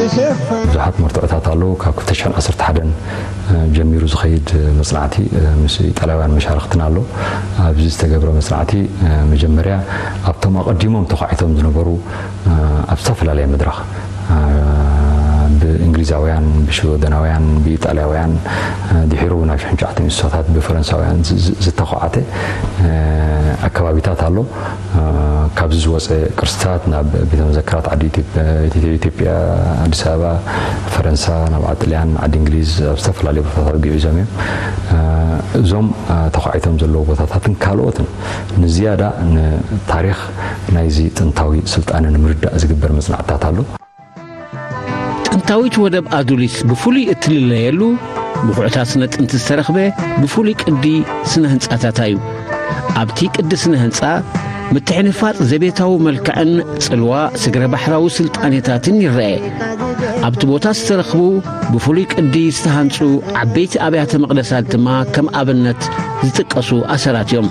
ብዙሓት መርትዖታት ኣለዉ። ካብ ክልተ ሽሕን ዓሰርተ ሓደን ጀሚሩ ዝኸይድ መጽናዕቲ ምስ ኢጣልያውያን መሻርኽትና ኣሎ። ኣብዚ ዝተገብረ መጽናዕቲ መጀመርያ ኣብቶም ኣቐዲሞም ተዃዒቶም ዝነበሩ ኣብ ዝተፈላለየ መድረኽ ብእንግሊዛውያን፣ ብሽወደናውያን፣ ብኢጣልያውያን ድሒሩ ናብ ሽሕን ትሽዓተን ሚእቲ ብፈረንሳውያን ዝተዃዓተ ኣከባቢታት ኣሎ። ካብዚ ዝወፀ ቅርስታት ናብ ቤተ መዘክራት ዓዲ ኢትዮጵያ፣ ኣዲስ ኣበባ፣ ፈረንሳ፣ ናብ ዓዲ ጥልያን፣ ዓዲ እንግሊዝ፣ ኣብ ዝተፈላለዩ ቦታታት ግዒዞም እዮም። እዞም ተዃዒቶም ዘለዉ ቦታታትን ካልኦትን ንዝያዳ ንታሪኽ ናይዚ ጥንታዊ ስልጣነ ንምርዳእ ዝግበር መጽናዕትታት ኣሎ። ጥንታዊት ወደብ ኣዱሊስ ብፍሉይ እትልለየሉ ብኹዕታት ስነ ጥንቲ ዝተረኽበ ብፍሉይ ቅዲ ስነ ህንጻታታ እዩ። ኣብቲ ቅዲ ስነ ህንጻ ምትሕንፋጽ ዘቤታዊ መልክዕን ጽልዋ ስግረ ባሕራዊ ስልጣኔታትን ይረአ። ኣብቲ ቦታ ዝተረኽቡ ብፍሉይ ቅዲ ዝተሃንጹ ዓበይቲ ኣብያተ መቕደሳት ድማ ከም ኣብነት ዝጥቀሱ ኣሰራት እዮም።